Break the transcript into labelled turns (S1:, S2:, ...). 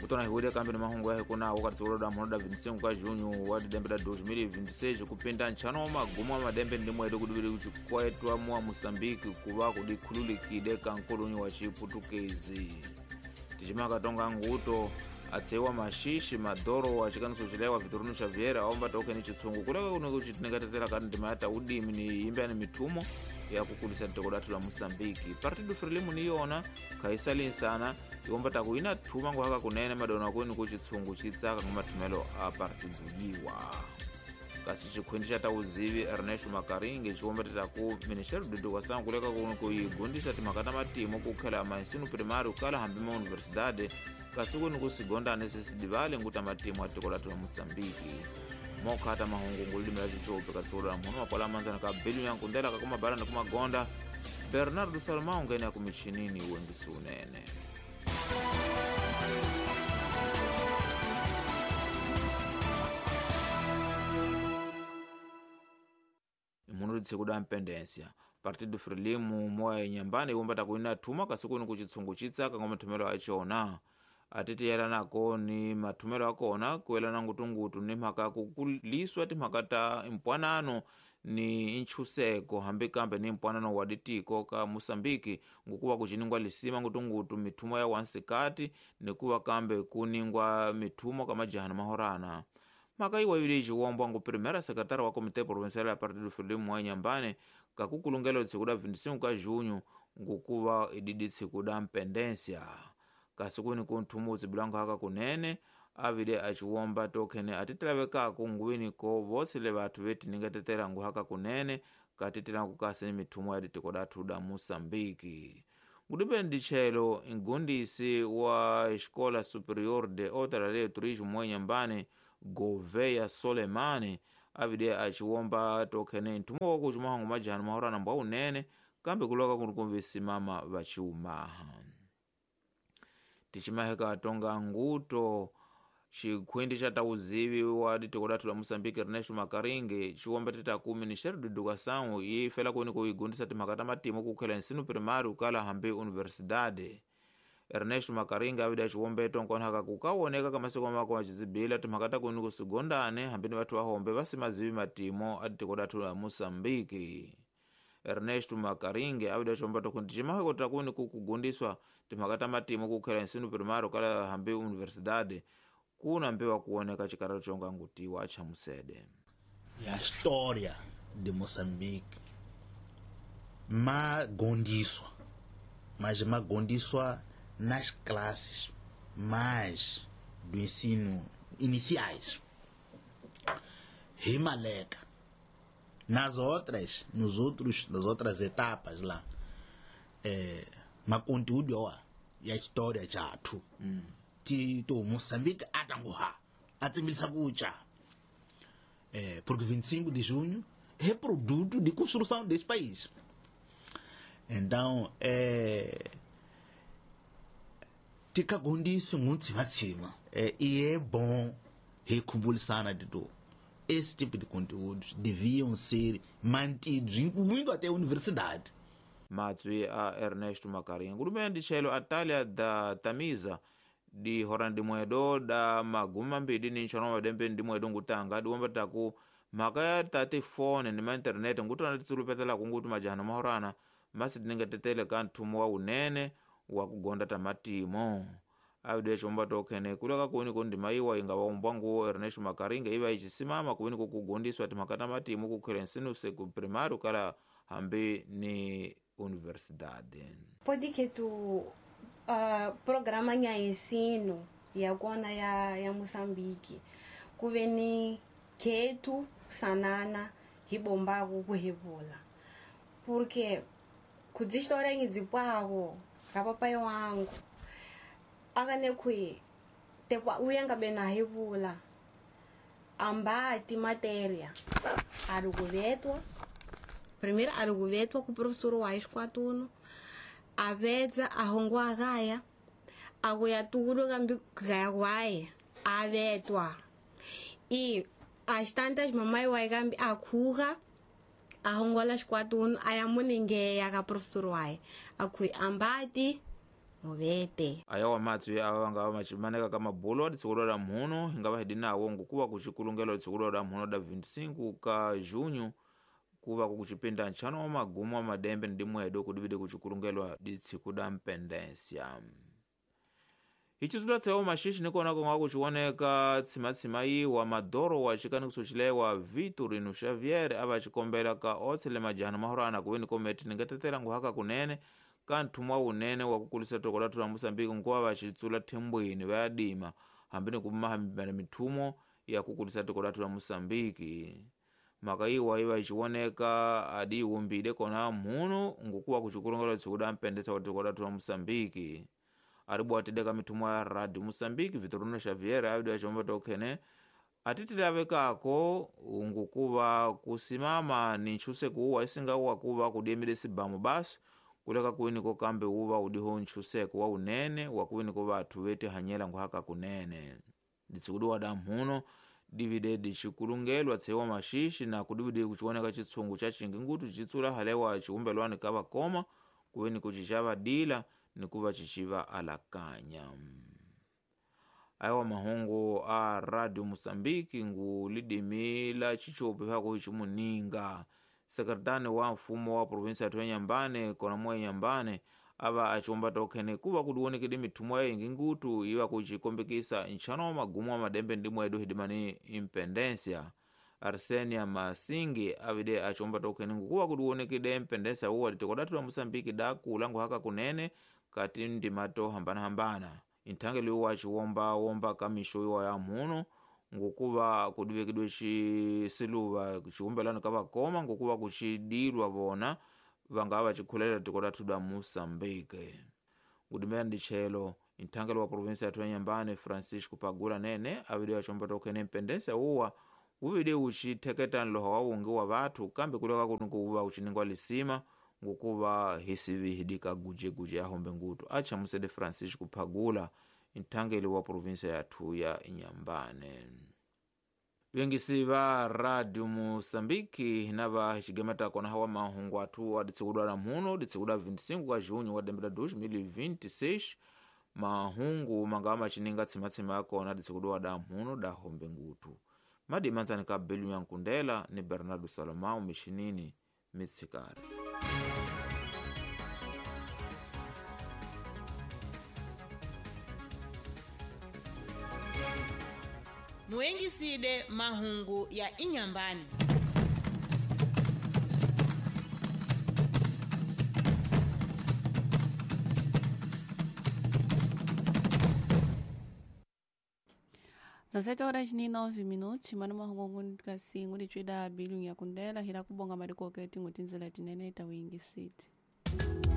S1: Kutona hiwile kambe ni mahungu ya hikuna wakati uloda munoda 25 ka junho wa didembe da 2026 kupinda nchano wa magumu wa madembe ndi mwedu kudubili kuchikwetwa mwa Mosambiki kuva kudikhululikide kankulunyi wa Chiputukezi. Tichimaka tonga nguto atsewa mashishi madhoro wa chikaniso chilewa Vitorino Xavier aomba tokeni chitsungu kuleka kuno kuchitinekatetera kati ndima ya udimi ni imbe ni mithumo ya kukulisa tiko lathu la Mosambiki. Partido Frelimo ni yona khaisalinsana iomba takuina thuma nguhaka kunene madona kwenu kuchitsungu chitsaka ngamathumelo a partido yiwa. Kasi chikhwindi cha tauzivi Ernesto Makaringe chiomba titaku Ministério de Educação kuleka kuno kuigundisa timhaka ta matimo kukhela maensino primário kala hambi ma universidade kasi kuni kusigondane sesidivale nguta matimo a tiko lathu la Mosambiki. Mokhata mahungu ngulimi la chichope katsolo la mhono mapola manzana ka belu yankundela kakumabala ni kumagonda Bernardo Salomão ngene ya kumichinini uwengisi unene. Imunudzi kuda mpendência Partido Frelimo moya inyambani iwomba takuina thuma kasi kuni kuchitsungu chitsaka ngamathumelo achona atitiyela nako ni mathumelo akona kuelana ngutungutu ni mhaka kukuliswa timhaka ta mpwanano ni nchuseko hambi kambe ni mpwanano wa ditiko ka Mosambiki ngukuwa kuchiningwa lisima ngutungutu mithumo ya wansikati nikuwa kambe kuningwa mithumo ka majahana mahorana. Mhaka iwa ibili iciwombwa ngu primeira secretária wa Comitê Provincial ya Partido Frelimo wa Inhambane kakukulungela tsiku da 25 ka junho ngukuva ididi tsiku da mpendência. Kasi kuni kunthumu utsibilango haka kunene avile aciwomba tokhene atitilavekaku nguwini ko vosile vathu vetiningetetela nguhaka kunene katitilanku kasi ni mithumo ya ditiko dathu da Mosambiki. Ngudipeni dichelo ingundisi wa Escola Superior de Hotelaria e Turismo mwa Inhambane Gouveia Soleimani avile aciwomba tokhene nthumo wakucumahangu majahanu mahorana mbwa unene kambe kuloka kuni kumvisimama vaciumaha. Tichimaheka tonga nguto chikhwindi cha tauzivi wa ditiko lathu la Mosambiki Ernesto Makaringe chiwomba titaku Ministério de Educação ifela kuni kuigundisa timhaka ta matimo kukhela ensino primário kala hambi universidade. Ernesto Makaringe avida aciwombeto nkonhaka kukawoneka kamasiko mako acizibila timhaka ta kuni kusigondane hambi ni vathu vahombe vasimazivi matimo a ditiko lathu la Mosambiki. Ernesto Makaringe avida aciwomba tokuti cimaheko takuni kukugundiswa timhaka ta matimo kukhela ensino primário kala hambi universidade kuna mbewa kuoneka chikaralo chonga ngutiwa cha musede.
S2: A história de Moçambique magondiswa, mas magondiswa nas classes mais do ensino iniciais. Rimaleka. Nas outras, nos outros, nas outras etapas lá, maconteúdo ó, e a história já tu. To Moçambique atanguha atimbilisa kucha porque 25 de junho é produto de construção desse país. Então tikagondisa ngutsivatsima e é bom rekumbulisana de do esse tipo de conteúdos deviam ser mantidos, incluindo até a universidade.
S1: Matsui a Ernesto Makaringa ngulumene chelo Atália da Tamisa di hora ndimwedo da magumi mambiri ni nxanu madembe ndimwedo ngutanga diwomba taku mhaka ya ta tifone ni ma internet ngutona titsulupetelaku nguti majahana mahorana masi tiningetetele ka nthumo wa unene wa kugonda ta matimo. Avide xomba tokhene kuleka kuni kundima iwa inga waumbwa nguwo Ernesto Makaringe iva icisimama kuni kukugundiswa timhaka ta matimo kukhela ensino seku primário kala hambi ni universidade.
S3: Pode que tu programa ya ensino ya kona ya Moçambique kuve ni ketu sanana hibombaku kuhivula porque kudzistora ngidzipwako ka papai wangu akane khui tekwa uya ngabe na hivula ambati matéria ari kuvetwa primeiro ari kuvetwa ku professor wa xikwatunhu avedza ahongwa kaya akuya tukulu kambi kaya kwaye avetwa e às tantas mamãe waye kambi akhuka ahongola xikwatunu a ya muningeya ka professor waye akhui ambati Muvete.
S1: Ayawa matswi awa nga machimaneka ka mabulo aditsikulo la mhuno hinga va hidinawo ngukuva kuchikulungelo aditsikulo la mhuno da 25 ka junho kuva kukuchipinda ntchano wa magumu wa madembe ndi mwedo kudivide kuchikulungelwa ditsiku da mpendência. Ichitsulatsewo maxixi nikona konga kuchiwoneka tsimatsima iwa madoro wa chikanikiso chilewa Vitorino Xavier ava chikombela ka otsele majano mahorana kuweni kometi ningatetela nguhaka kunene ka nthumwa wunene wa kukulisa toko lathu la Moçambique nkuva vacitsula thembweni vayadima hambi ni kumahambana mithumo ya kukulisa toko lathu la Moçambique. Maka iwa iwa ichiwoneka adi iwumbile kona mhuno ngukuwa kuchikulongela tsiku da mpendesa wa toko lathu la Moçambique. Aribwatideka mithumo ya Radio Moçambique Vitorino Xavier avidi achomba tokhene atitile kako ngukuva kusimama ni ntchuseko uwa isinga wakuva kudiemile sibamu basi kuleka kuwiniko kambe uva udiho ntchuseko wa unene wakuwiniko vathu vetihanyela nguhaka kunene. Ditsikudiwa da mhuno divide dixikulungelwa tseiwa maxixi na kudivide kuchiwoneka chitsungu cha chingi ngutu chitsula halewa chiumbelwani ka vakoma kuweniko cicavadila nikuva ciciva alakanya. Awa mahungu a Radio Moçambique ngu lidimi la chichopi phako hichimuninga. Sekretani wa mfumo wa provinsia ya Inhambane kona mwa Inhambane ava achomba tokhene kuva kudiwonekede mithumo ya ingi ngutu iva kuchikombekisa ntchano wa magumu wa madembe ndi mwedu hidimani impendência. Arsenia Masingi avide achomba tokhene ngukuva kudiwonekede mpendência uwa tikodathu la Moçambique dakula nguhaka kunene kati ndimato hambanahambana. Inthangeli uwa aciwomba-womba kamixo iwa ya mhuno ngukuva kudivekedwe cisiluva ciumbelano ka vakoma ngukuva kucidilwa vona vangava vacikhulela tiko lathu la Moçambique. Ngudimela ndichelo inthangeli wa provinsia yathu ya Inhambane Francisco Pagula nene avide achomba tokhene mpendência uwa uvide ucitheketa nloha wa wungi wa vathu kambe kuleka kunukuva uciningwa lisima ngukuva hisivihidika guje-guje ahombe ngutu. Achamusede Francisco Pagula inthangeli wa provinsia yathu ya Inhambane. Vengisi va Radio Moçambique nava hixigemeta kona hawa mahungu athu aditsikudwa la mhuno ditsikudwa 25 ka junho wa dembe la 2026. Mahungu mangava macininga tsimatsima yakona ditsikudwa da mhuno da hombe ngutu. Madimanzani ka Belu ya Nkundela ni Bernardo Salomão mixinini mitsikari.
S4: Muengiside mahungu ya Inhambane.
S5: Às 7:09, mano mahungu kasi ngulitswida Belu ya Nkundela hila kubonga madikoketi ngutinzela tinene ta wingi city.